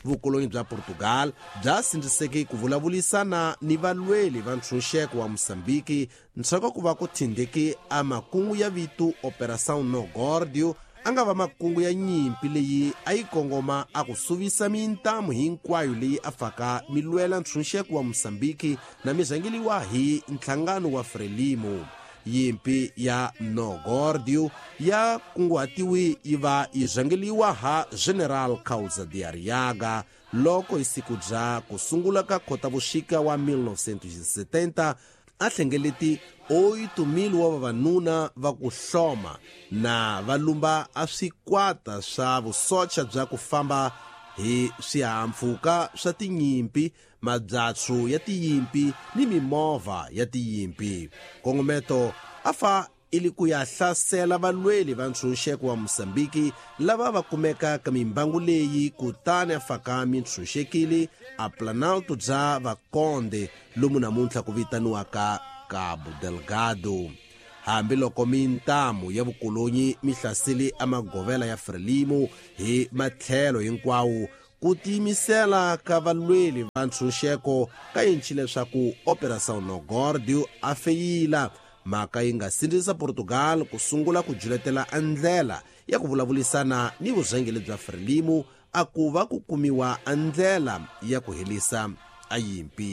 Vukolonyi bya Portugal bya sindziseke ku vulavulisana ni valweli va ntshunxeko wa Mosambiki ntshaku ku va ku thindeke a makungu ya vito Operação No Górdio, a nga va makungu ya nyimpi leyi a yi kongoma a ku suvisa mintamu hinkwayo leyi a faka milwela ntshunxeko wa Mosambiki na mizangeliwa hi nhlangano wa Frelimo. Yimpi ya No Górdio ya kunguhatiwi yi va yi rhangeliwa ha General Kaulza de Arriaga loko hi siku bya ku sungula ka Khotavuxika wa 1970 a hlengeleti 8,000 wa vavanuna va ku hloma na va lumba a swikwata swa vusocha bya ku famba hi swihahampfhuka swa tinyimpi, mabyatsu ya tiyimpi ni mimovha ya tiyimpi. Nkongometo a fa ili ku ya hlasela valweli va ntshunxeko wa Mosambiki lava va kumeka ka mimbangu leyi, kutani a faka mintshunxekile a Planalto bya Vakonde lomu namuntlha ku vitaniwaka Cabo Delgado. Hambiloko mintamu ya vukolonyi mi hlasele a magovela ya Frelimo hi matlhelo hinkwawo, ku tiyimisela ka valweli va ntshunxeko ka yinci leswaku Operação No Górdio a feyila. Mhaka yi nga sindzisa Portugal ku sungula ku juletela a ndlela ya ku vulavulisana ni vurhangeri bya Frelimo a ku va ku kumiwa a ndlela ya ku herisa a yimpi.